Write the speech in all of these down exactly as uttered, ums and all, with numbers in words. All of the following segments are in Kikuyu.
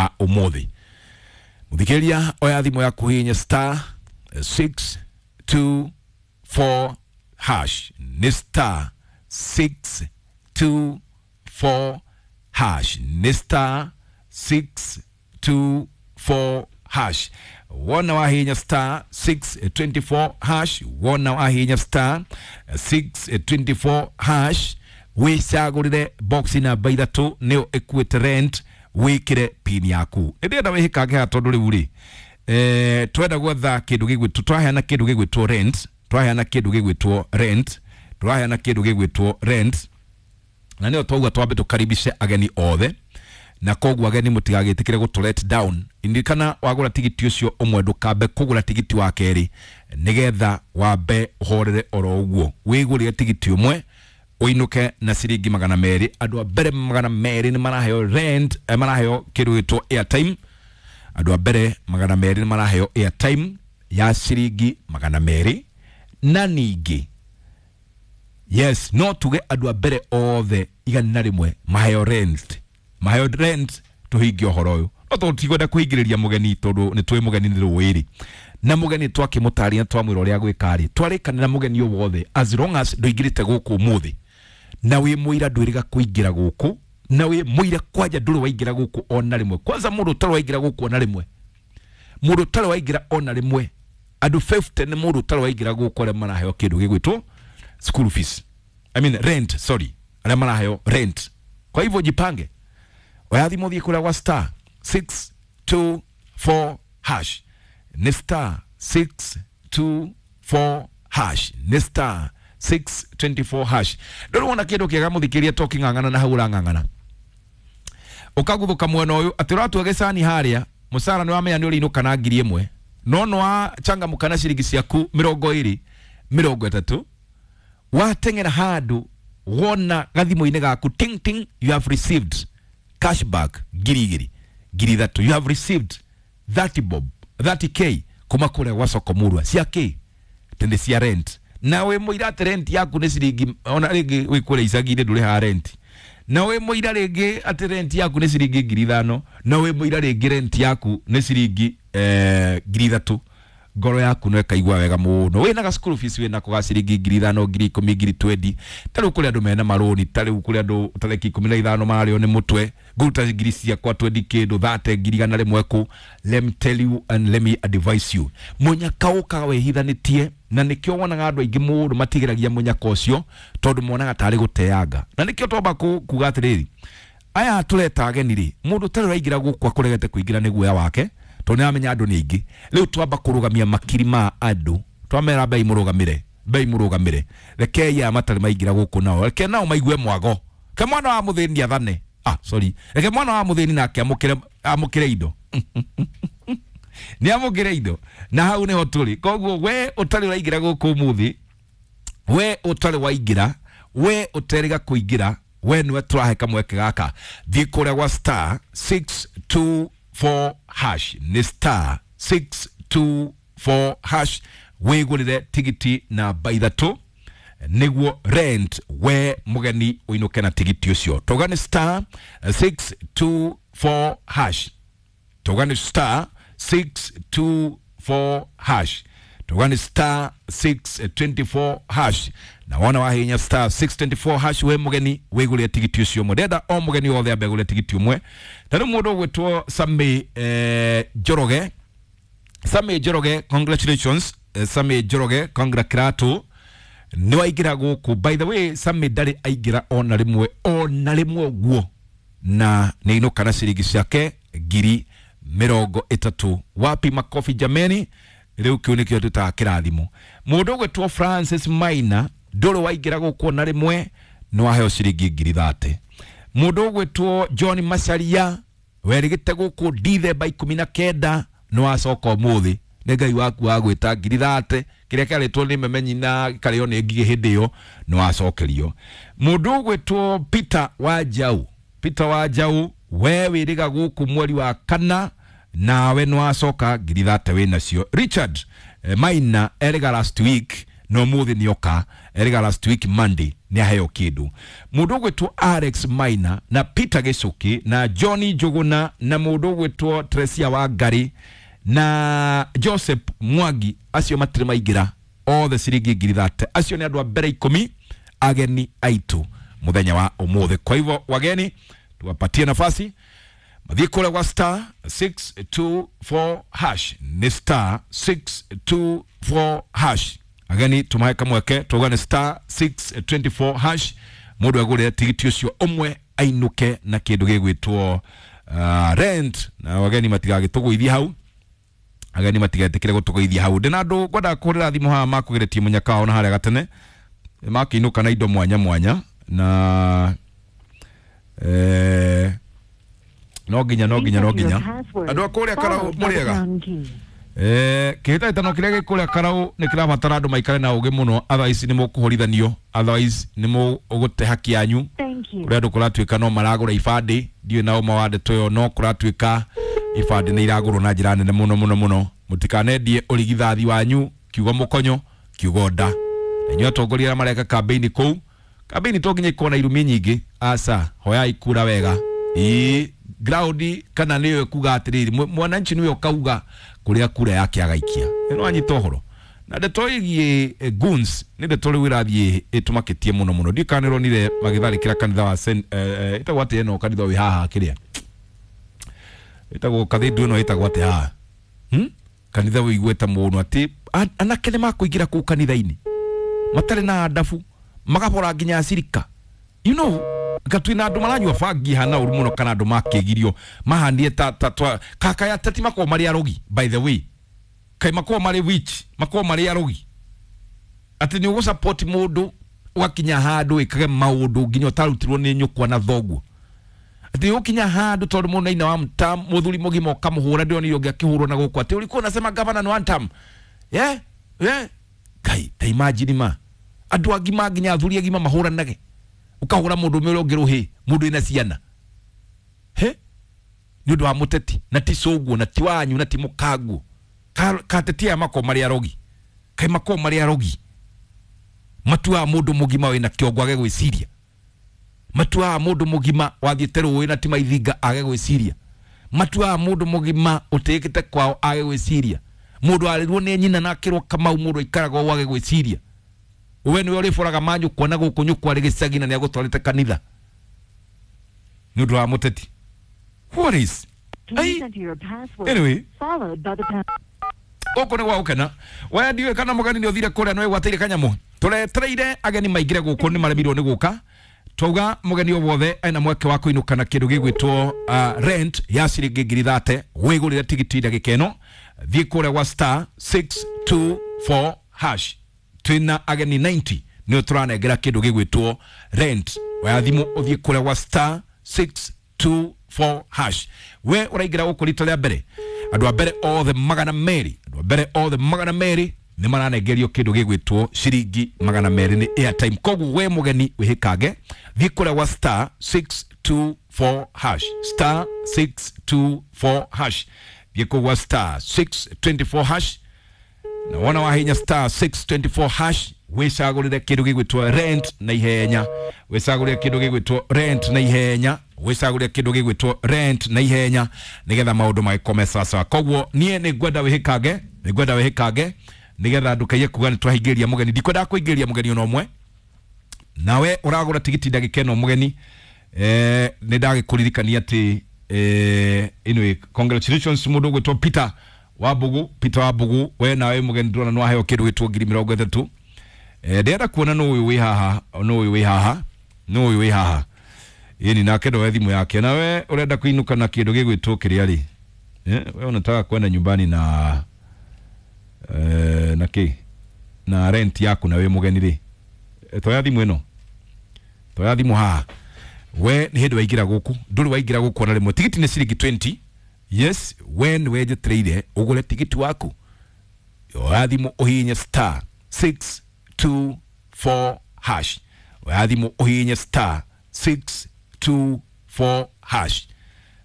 wa umuthi. Muthikiriria, oya thimu yaku hihinya star six two four hash, ni star six two four hash, ni star six two four hash. Wona wahinya star six twenty-four hash, wona wahinya star six twenty-four hash, wicagurire box namba ithatu niyo ikuite rent, wikire pin yaku. Ndĩrenda wĩhĩkange haha tondũ rĩu rĩ, eh, twenda gwetha kĩndũ gĩgwĩtwo, twaheana kĩndũ gĩgwĩtwo rent, twaheana kĩndũ gĩgwĩtwo rent, twaheana kĩndũ gĩgwĩtwo rent, na nĩyo twauga twambe tũkaribishe ageni othe, na koguo ageni mũtigagĩtĩkĩre gũtũ let down. Ndirikana wagũra tigiti ũcio ũmwe ndũkambe kũgũra tigiti wa kerĩ, nĩgetha wambe ũhorere oro ũguo. Wĩgũrĩre tigiti ũmwe ũinũke na ciringi magana merĩ. Andũ a mbere magana merĩ nĩ maraheo rent, eh, maraheo kĩndũ gĩtwo airtime. Andũ a mbere magana merĩ nĩ maraheo airtime ya ciringi magana merĩ, na ningĩ yes, no tuge andũ a mbere othe igana rĩmwe maheo rent, maheo rent tũhingie ũhoro ũyũ. No tondũ tũtikwenda kũhingĩrĩria mũgeni, tondũ nĩ tũĩ mũgeni nĩ rũĩ-rĩ, na mũgeni twakĩmũtarĩria twamwĩra ũrĩa gwĩka rĩ, twarĩkanĩra mũgeni o wothe as long as ndũingĩrĩte gũkũ ũmũthĩ, na wĩ mũira ndwĩrĩga kũingĩra gũkũ, na wĩ mũira kwanja ndũrĩ waingĩra gũkũ ona rĩmwe. Kwanza mũndũ ũtarĩ waingĩra gũkũ ona rĩmwe, mũndũ ũtarĩ waingĩra ona rĩmwe, andũ fifty nĩ mũndũ ũtarĩ waingĩra gũkũ arĩa maraheo kĩndũ gĩgwĩtwo school fees, I mean rent, sorry, arĩa maraheo rent. Kwa hivyo jipange, oya thimũ thiĩ kũrĩa gwa star six two four hash, nĩ star six two four hash, nĩ star six twenty-four hash. Ndũrĩ wona kĩndũ kĩega mũthikĩria to kĩng'ang'ana na hau ũrang'ang'ana, ũkaguthuka mwena ũyũ atĩ ũratua gĩcani harĩa, mũcara nĩ wamenya nĩ ũrĩinũka na ngiri ĩmwe, no nĩ wachangamũka na ciringi ciaku mĩrongo ĩrĩ mĩrongo ĩtatũ, wateng'era handũ wona gathimũ-inĩ gaku ting ting, you have received cashback ngiri igĩrĩ ngiri ithatũ, you have received thirty bob, thirty k kuma kũrĩa gwa soko murwa cia kĩ tende cia rent. Na wĩ mũira atĩ rent yaku nĩ ciringi, ona rĩngĩ wĩ kũrĩa icagi-inĩ ndũrĩhaga rent, na wĩ mũira rĩngĩ atĩ rent yaku nĩ ciringi ngiri ithano, na wĩ mũira rĩngĩ rent yaku nĩ ciringi, eh, ngiri ithatũ, ngoro yaku no ĩkaigua wega mũno. Wĩna ga school fees wĩnako ga ciringi ngiri ithano, ngiri ikũmi, ngiri twenty. Ta rĩu kũrĩ andũ mena marũni, ta rĩu kũrĩ andũ tarĩki ikũmi na ithano mararĩo nĩ mũtwe, ngũruta ngiri ciakwa twenty kĩndũ thate ngiri igana rĩmwe kũ. Let me tell you and let me advise you, mũnyaka ũkaga wĩhithanĩtie, na nĩkĩo wonaga andũ aingĩ mũno matigĩragia mũnyaka ũcio, tondũ monaga tarĩ gũteanga. Na nĩkĩo twamba ku-, kuga atĩrĩrĩ, aya tũreta ageni rĩ, mũndũ ũtarĩ ũraingĩra gũkũ akũregete kũingĩra nĩ guoya wake, tondũ nĩaramenya andũ nĩ aingĩ. Rĩu twamba kũrũgamia makiri ma andũ, twamera mbei mũrũgamĩre, mbei mũrũgamĩre, rekei aya matarĩ maingĩra gũkũ nao, reke nao maigue mwago, reke mwana wa mũthĩni athane, ah sorry, reke mwana wa mũthĩni nake amũkĩre, amũkĩre indo. Nĩ amũkĩre indo, na hau nĩho tũrĩ. Koguo we ũtarĩ ũraingĩra gũkũ ũmũthĩ, we ũtarĩ waingĩra, we ũterĩga kũingĩra, we nĩwe tũrahe kamweke gaka. Thiĩ kũrĩa gwa star six two four hash, nĩ star six two four hash, wĩgũrĩre tigiti namba ithatũ nĩguo rent we mũgeni ũinũke na tigiti ũcio. Tauga nĩ star six two four hash, tauga nĩ star six two four hash, tauga nĩ star six twenty-four hash. Na wona wahinya star six twenty-four hash, we mũgeni wĩgũrĩre tigiti ũcio ũmwe. Ndĩrenda o mũgeni wothe ambe agũre tigiti ũmwe. Ta rĩu mũndũ ũgwĩtwo Sammy, eh, Njoroge, Sammy Njoroge, congratulations. Eh, Sammy Njoroge, congratulations, nĩ waingĩra gũkũ. By the way, Sammy ndarĩ aingĩra ona rĩmwe, ona rĩmwe ũguo, na nĩ ainũka na ciringi ciake ngiri mĩrongo ĩtatũ. Wapi makofi jameni? Rĩu kĩu nĩkĩo twĩtaga kĩrathimo. Mũndũ ũgwĩtwo Francis Maina, ndũrĩ waingĩra gũkũ ona rĩmwe, nĩ waheo ciringi ngiri thate. Mũndũ ũgwĩtwo John Macharia, werĩgĩte gũkũ Dithemba ikũmi na kenda, nĩ wacoka ũmũthĩ. Nĩ Ngai waku wa gwĩta ngiri thate, kĩrĩa kĩarĩtwo nĩ memenyi na gĩkarĩo nĩ ngigĩ hĩndĩ ĩyo, nĩ wacokerio. Mũndũ ũgwĩtwo Peter Wanjau, Peter Wanjau, we wĩrĩga gũkũ mweri wa kana, nawe nĩ wacoka ngiri thate wĩ nacio. Richard, eh, Maina erĩga last week, No muthi nioka eriga last week Monday ni aheo kindu. Mundu ugwitwo Alex Maina na Peter Gicuki na Johnny Njuguna na mundu ugwitwo Tresia Wangari na Joseph Mwangi acio matire maingira othe ciringi ngiri thate. Acio ni andu a mbere ikumi ageni aitu muthenya wa umuthi. Kwa hivyo wageni tuwapatie nafasi mathie kule kwa star six two four hash, ni star six two four hash. Ageni tumahe kamweke tuga ni star six two four hash mundu agure tigiti ucio umwe ainuke na kindu gigwitwo uh, rent. Na wageni matigagituguithia hau, ageni matigetikire gutuguithia hau. Ndina andu ngwenda kuhurira thimu haha makugeretie munyaka wao na haria gatene makiinuka na indo mwanya mwanya na eh no nginya no nginya no nginya andu a kuria Karau muriega eh kihitahitano kiria gi kuria Karau ni kirabatara andu maikare na ugi muno, otherwise ni mukuhorithanio, otherwise ni mugute haki yanyu. Kuria andu kuratuika no maragura ibandi, ndiuĩ na uma wa ndeto ĩyo, no kuratuika ibandi ni iragurwo na njira nene muno muno muno. Mutikanendie urigithathi wanyu kiugo mukonyo kiugo nda. Na inyuĩ atongoria arĩa mareka campaign kũu, campaign to nginya ikorwo na irumi nyingĩ, aca hoyai kura wega. Ĩĩ ground kana nĩyo ĩkuga atĩrĩrĩ mwananchi nĩwe ũkauga kũrĩa kura yake agaikia. Ĩno anyita ũhoro na ndeto ĩgiĩ goons nĩ ndeto rĩu ĩrathiĩ ĩtũmakĩtie mũno mũno. Ndiũĩ kana nĩũronire magĩtharĩkĩra kanitha wa ĩtagwo atĩa ĩno kanitha wĩ haha kĩrĩa ĩtagwo kathindu ĩno ĩtagwo atĩa haha, hmm? Kanitha wĩiguĩte mũno atĩ anake nĩ makũingĩra kũu kanitha-inĩ matarĩ na andabu magabora nginya acirika, you know, gatwina andu maranyua bangi hana uru muno kana andu makigirio mahandie ta ta twa kaka ya tati makorwo mari arogi, by the way kai makorwo mari witch makorwo mari arogi ati ni ugu support mundu ugakinya handu ikage maundu nginya utarutirwo ni nyukwa na thoguo, ati ukinya handu tondu mundu aina wa mtam muthuri mugima ukamuhura ndionire ungi akihurwo na guku ati ulikuwa unasema governor ni one term, yeah yeah kai ta imagine ma andu agima nginya athuri agima mahuranage ukahura mundu ume uria ruhi mundu ina ciana he ni undu wa muteti na ti cuguo na ti wanyu na ti mukanguo kateti aya makorwo mari arogi kai makorwo mari arogi matua mundu mugima wina kiongo age gwiciria, matua mundu mugima wathiete ruwi na ti maithinga age gwiciria, matua mundu mugima utikite kwao age gwiciria, mundu arirwo ni nyina na akirwo Kamau mundu aikaraga age gwiciria. We niwe uriboraga manyukwa na guku nyukwa ari gicagi na niagutwarite kanitha ni undu wa muteti. What is anyway gũkũ nĩ gwa gũkena. We ndiũĩ kana mũgeni nĩ ũthire kũrĩa nĩ wĩgwatĩire kanyamũ. Tũretereire ageni maingĩre gũkũ nĩ maremirwo nĩ gũka. Twauga mũgeni o wothe ena mweke wa kũinũka na kĩndũ gĩgwĩtwo uh, rent ya ciringi ngiri thate wĩgũrĩre tigiti ndagĩka ĩno. Thiĩ kũrĩa gwa star six two four hash. Twina ageni ninety nĩ tũranengera kĩndũ gĩgwĩtwo rent. Oya thimũ ũthiĩ kũrĩa gwa star six two four hash. We ũraingĩra gũkũ rita rĩa mbere, andũ a mbere othe magana merĩ, andũ a mbere othe magana merĩ nĩ maranengerio kĩndũ gĩgwĩtwo ciringi magana merĩ nĩ airtime. Koguo we mũgeni wĩhĩkange, thiĩ kũrĩa gwa star six two four hash, star six two four hash, thiĩ kũu gwa star six two four hash. Na wona wahinya star six two four hash wicagurire kindu gigwitwo rent na ihenya, wicagurire kindu gigwitwo rent na ihenya, wicagurire kindu gigwitwo rent na ihenya nigetha maundu magikome sawa. Koguo nie ni ngwenda wihikange, ni ngwenda wihikange nigetha ndukaiye kuga ni twahingiria mugeni. Ndikwenda kuingiria mugeni ona umwe. Nawe uragura tigiti ndagika ino mugeni, eh ni ndagikuririkania ati eh anyway congratulations mundu ugwitwo Peter Wabugu, Peter Wabugu, we nawe mugeni ndurona no aheo kindu gitwo ngiri mirongo itatu. Eh ndĩrenda kuona no uyu wi haha, no uyu wi haha, no uyu wi haha. Yeni nake ndoe thimu yake. Nawe urenda kuinuka na kindu gigwitwo kiria ri. Eh we unataka kwenda nyumbani na eh na ki na rent yaku na we mugeni ri. E, toya thimu ino. Toya thimu haha. We ni hindi waingira guku, nduri waingira guku ona rimwe. Tigiti ni ciringi twenty. Yes, when wejetereire ugure tigiti waku. Oya thimu uhinye star six two four hash. Oya thimu uhinye star six two four hash.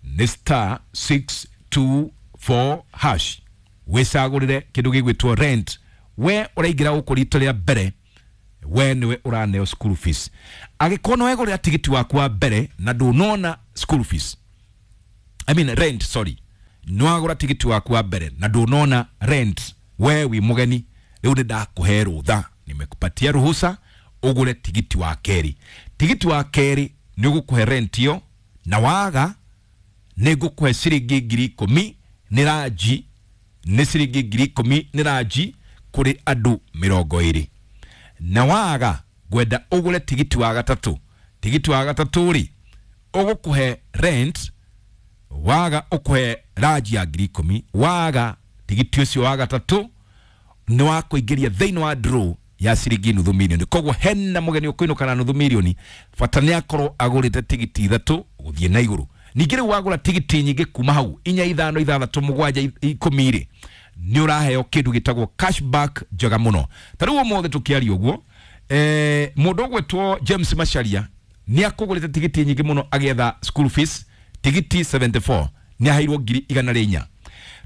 Ni star six two four hash. Wicagurire kindu gigwitwo rent We ũraingĩra gũkũ rita rĩa mbere, we nĩwe ũraneo school fees. Angĩkorwo nĩ wegũrĩra tigiti waku wa mbere na ndũnona school fees, I mean rent, sorry, nĩ wagũra tigiti waku wa mbere na ndũnona rent, we wi mũgeni, rĩu nĩ ndakũhe rũtha, nimekupatia ruhusa ũgũre tigiti wa kerĩ. Tigiti wa kerĩ nĩ ũgũkũhe rent ĩyo, na waga nĩ ngũkũhe ciringi ngiri ikũmi nĩ ranji, nĩ ciringi ngiri ikũmi nĩ ranji kũrĩ andũ mĩrongo ĩrĩ. Na waga ngwenda ũgũre tigiti wa gatatũ. Tigiti wa gatatũ rĩ, ũgũkũhe rent, waga ũkũhe ranji ya ngiri ikũmi, waga tigiti ũcio wa gatatũ nĩ wa kũingĩria thĩinĩ wa draw ya ciringi nuthu milioni. Koguo hena mũgeni ũkũinũka na nuthu milioni, bata nĩ akorwo agũrĩte tigiti ithatũ gũthiĩ na igũrũ. Ningĩ rĩu wagũra tigiti nyingĩ kuma hau inya, ithano, ithathatũ, mũgwanja, ikũmi rĩ, nĩ ũraheo kĩndũ gĩtagwo cashback njega mũno. Ta rĩu ũmũthĩ tũkĩaria ũguo, eh, mũndũ ũgwĩtwo James Macharia nĩ akũgũrĩte tigiti nyingĩ mũno agĩetha school fees, tigiti mĩrongo mũgwanja na inya nĩ aheirwo ngiri igana rĩa inya.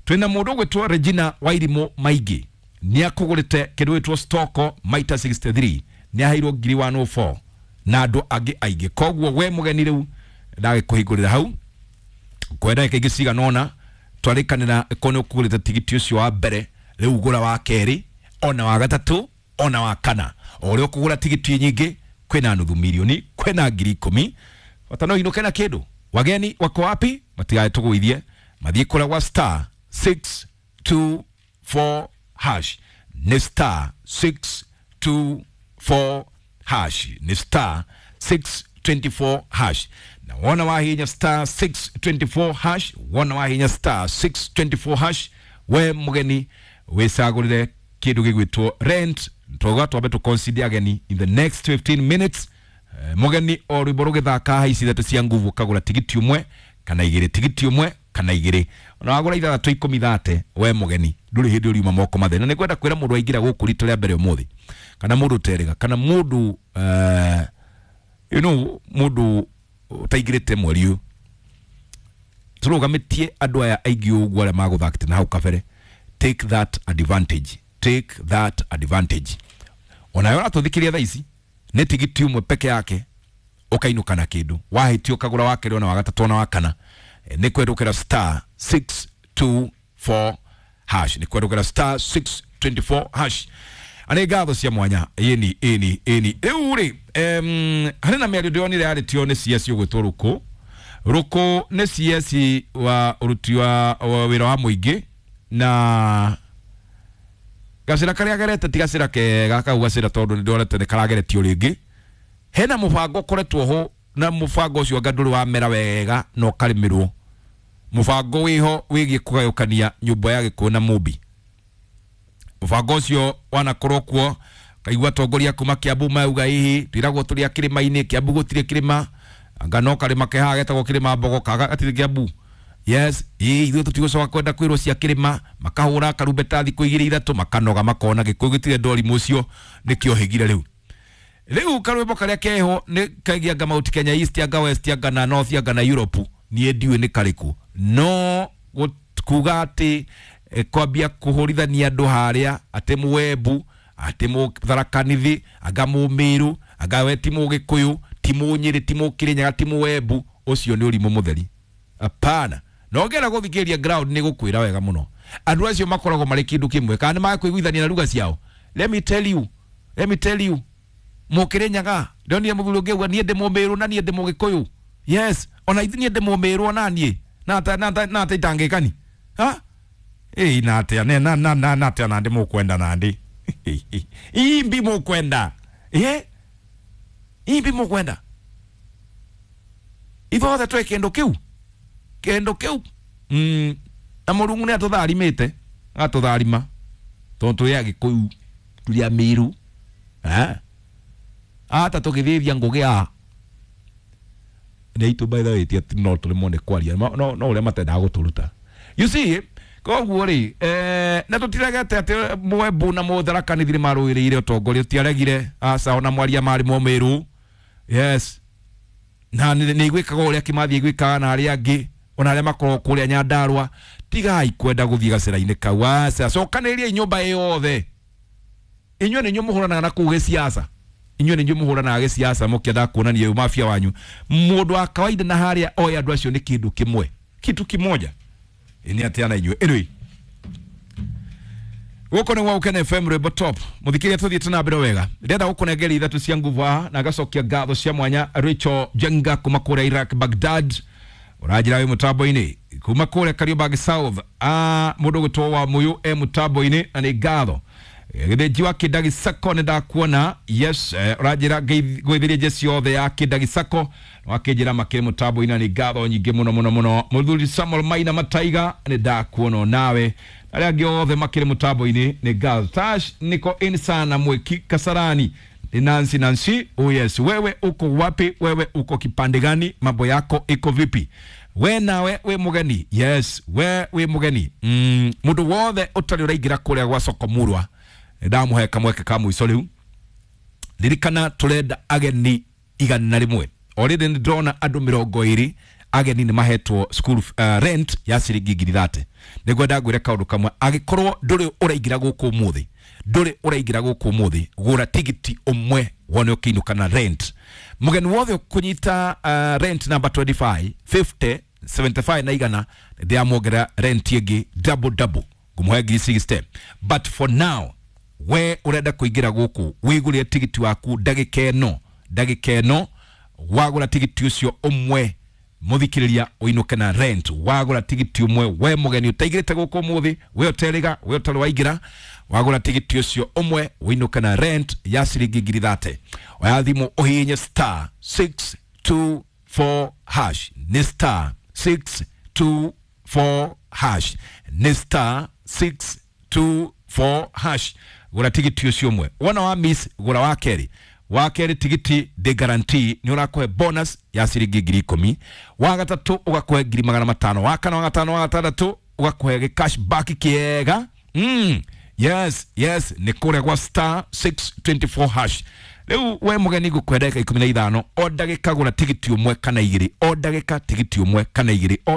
Twĩna mũndũ ũgwĩtwo Regina Wairimũ Maingĩ nĩ akũgũrĩte kĩndũ gĩtwo stoko maita mĩrongo ĩnana na ithatũ nĩ aheirwo ngiri igana rĩmwe na inya na andũ angĩ aingĩ. Koguo we mũgeni rĩu ndagĩkũhingũrĩra hau kwa ndagĩka ingĩ cigana ũna twarĩkanĩra ko nĩ ũkũgũrĩte tigiti ũcio wa mbere, rĩu gũra wa kerĩ ona wa gatatũ ona wa kana. O ũrĩa ũkũgũra tigiti nyingĩ, kwĩna nuthu milioni, kwĩna ngiri ikũmi, bata no inũke na kĩndũ. Wageni wako wapi? Matigae tũgũithie, mathiĩ kũrĩa gwa star six two four hash, nĩ star six two four hash, nĩ star six two four hash. Na wona wahinya star six two four hash, wona wahinya star six two four hash, we mũgeni wĩcagũrĩre kĩndũ gĩgwĩtwo rent. Tũga twambe tũ ageni in the next fifteen minutes. Eh, mũgeni o rwĩmbo rũgĩthaka haha ici ithatũ cia nguvu, ũkagũra tigiti ũmwe kana igĩrĩ, tigiti ũmwe kana igĩrĩ. Ona wagũra ithathatũ ikũmi thate, we mũgeni ndũrĩ hĩndĩ ũriuma moko matheri. Na nĩ ngwenda kwĩra mũndũ aingĩra gũkũ rita rĩa mbere ũmũthĩ, kana mũndũ ũterĩga, kana mũndũ eh, you know mũndũ ũtaingĩrĩte mweri ũyũ, tũrũgamĩtie andũ aya aingĩ ũguo arĩa magũthakĩte na hau kabere. Take that advantage, take that advantage. Onawe ũratũthikĩria thaa ici, nĩ tigiti ũmwe peke yake ũkainũka na kĩndũ. Wahĩtia ũkagũra wa kerĩ ona wa gatatũ ona wa kana. Eh, nĩ kwendũkĩra star six two four hash, nĩ kwendũkĩra star six two four hash. Anĩ ngatho cia mwanya. Ĩni ĩni ĩni, rĩu rĩ, em, harĩ na mĩario ndĩronire yarĩtio nĩ C S ũgwĩtwo Rũkũ. Rũkũ nĩ C S wa ũruti wa wa wĩra wa mũingĩ, na gacĩra karĩa gerete ti gacĩra kega kau gacĩra, tondũ nĩ ndorete nĩ karageretio rĩngĩ. Hena mũbango ũkoretwo ho, na mũbango ũcio anga ndũrĩ wamera wega na ũkarĩmĩrwo. Mũbango wĩho wĩgiĩ kũgayũkania nyũmba ya Gĩkũyũ na Mũmbi. Mũbango ũcio wanakorwo kuo, kaigua atongoria kuma Kiambu mauga hihi twiragwo tũrĩ a kĩrĩma-inĩ, Kiambu gũtirĩ kĩrĩma, anga no karĩma ke haha getagwo kĩrĩma mbogo kaga gatirĩ Kiambu. Yes, ĩ ithuĩ tũtigũcoka kwenda kwĩrwo cia kĩrĩma. Makahũra karumbeta thikũ igĩrĩ ithatũ, makanoga, makona Gĩkũyũ gĩtirĩ ndori mũcio nĩkĩohĩgire. Rĩu rĩu karwĩmbo karĩa keho nĩ kegiĩ anga Mount Kenya East, anga West, anga na North, anga na Europe, niĩ ndiũĩ nĩ karĩkũ. No gũ- kuga atĩ eh, kwambia kũhũrithania andũ harĩa atĩ Mũembu, atĩ Mũtharakanithi, anga Mũmĩrũ, anga we ti Mũgĩkũyũ, ti Mũnyĩrĩ, ti Mũkĩrĩnyaga, ti Mũembu, ũcio nĩ ũrimũ mũtheri. Hapana. Na ũngĩenda gũthikĩrĩria ground, nĩ gũkwĩra wega mũno andũ acio makoragwo marĩ kĩndũ kĩmwe, kana nĩ makũiguithania na ruga ciao. Let me tell you, let me tell you, Mũkĩrĩnyaga, ndonire mũthuri ũngĩ auga niĩ ndĩ Mũmĩrũ na niĩ ndĩ Mũgĩkũyũ. Yes, ona ithuĩ niĩ ndĩ Mũmĩrũ ona niĩ na na na ata itangĩkani ha ĩĩ na atĩa ne na na na na atĩa na ndĩ mũkwenda na ndĩ imbi mũkwenda ĩ imbi mũkwenda ithuothe twĩ kĩndũ kĩu kĩndũ kĩu mm, na Mũrungu nĩ atũtharimĩte, agatũtharima tondũ tũrĩ Agĩkũyũ, tũrĩ Amĩrũ. Eh ata tũgĩthĩthia ngũgĩ a nĩ itũ, by the way, ti atĩ no tũremwo nĩ kwaria, no no no ũrĩa matendaga gũtũruta, you see. Koguo rĩ, eh, na tũtiregete atĩ Mwembu na Mũtharaka Nithi nĩ marũĩrĩire ũtongoria, tũtiaregire, aca. Ona mwaria marĩ Mũmĩrũ, yes, na nĩ nĩ igwĩkaga ũrĩa Kĩmathi igwĩkaga na arĩa angĩ, ona arĩa makoragwo kũrĩa Nyandarua. Tigai kwenda gũthiĩ gacĩra-inĩ kau, aca. Cokanĩrĩriai nyũmba ĩyothe. Inyuĩ nĩ inyuĩ mũhũranaga na kũu gĩciaca, inyuĩ nĩ inyuĩ mũhũranaga gĩciaca mũkĩendaga kuonania mafia wanyu. Mũndũ wa kawaida na harĩa oĩ andũ acio nĩ kĩndũ kĩmwe, kitu kimoja. Nĩ atĩa na inyuĩ? Anyway, gũkũ nĩ gwa Gũkena F M, rwĩmbo top. Mũthikĩria, tũthiĩte na mbere wega. Ndĩrenda gũkũnengera ithatũ cia nguvu haha na ngacokia ngatho cia mwanya Rachel Jenga kuma kũrĩa Iraq, Baghdad, ũranjĩra wĩ mũtambo-inĩ kuma kũrĩa Kariobangi South. Ah, mũndũ ũgwĩtwo wa Mũyũ e mũtambo-inĩ na nĩ ngatho. Gĩthĩnji wa Kĩndagi Sacco, nĩ ndakuona. Yes, eh, ũranjĩra ngũithĩrie jeci yothe ya Kĩndagi Sacco, wakĩnjĩra makĩrĩ mũtambo-inĩ na nĩ ngatho nyingĩ mũno mũno mũno. Mũthuri Samuel Maina Mataiga, nĩ ndakuona nawe, arĩa angĩ othe makĩrĩ mũtambo-inĩ nĩ ngatho. Tash niko in sana Mwiki Kasarani ni Nancy. Nancy, oh yes, wewe uko wapi? Wewe uko kipande gani? Mambo yako iko vipi? We nawe we mugeni? Yes, we we mugeni. mm, mundu wothe utari uraingira kuria gwa soko murwa, ndamuhe kamweke ka mũico rĩu. Ririkana turenda ageni igana rĩmwe. Already nĩ ndĩrona andũ mĩrongo ĩrĩ ageni nĩ mahetwo school uh, rent ya ciringi ngiri thate. Nĩngwenda ngwĩre kaũndũ kamwe: angĩkorwo ndũrĩ ũraingĩra gũkũ ũmũthĩ, ndũrĩ ũraingĩra gũkũ ũmũthĩ, gũra tigiti ũmwe wone ũkĩinũka na rent. Mũgeni wothe ũkũnyita uh, rent number twenty-five, fifty, seventy-five na igana, ndĩramuongerera rent ĩngĩ double double, ngũmũhe ngiri sixty. But for now, we urenda kuingira guku, wigurire tigiti waku ndagika ĩno. Ndagika ĩno wagura tigiti ucio ũmwe, muthikiriria, uinuke na rent. Wagura tigiti ũmwe, we mũgeni ũtaigĩrĩte gũkũ ũmũthĩ, we ũterĩga, we ũtarĩ waingĩra, wagura tigiti ũcio ũmwe ũinũke na rent ya ciringi ngiri thate. Oya thimũ ũhihinye star six two four hash. Nĩ star six two four hash, nĩ star six two four hash. Gũra tigiti ũcio ũmwe. Wona wa miss, gũra wa kerĩ. Wa kerĩ tigiti ndĩ guarantee nĩ ũrakũhe bonus ya ciringi ngiri ikũmi. Wa gatatũ ũgakũhe ngiri magana matano. Wa kana, wa gatano, wa gatandatũ ũgakũhe gĩ cash back kĩega. mm. yes yes nĩ kũrĩa gwa star six two four hash. Rĩu we mũgeni, ngũkũhe ndagĩka ikũmi na ithano, o ndagĩka gũra tigiti ũmwe kana igĩrĩ, o ndagĩka tigiti ũmwe kana igĩrĩ o.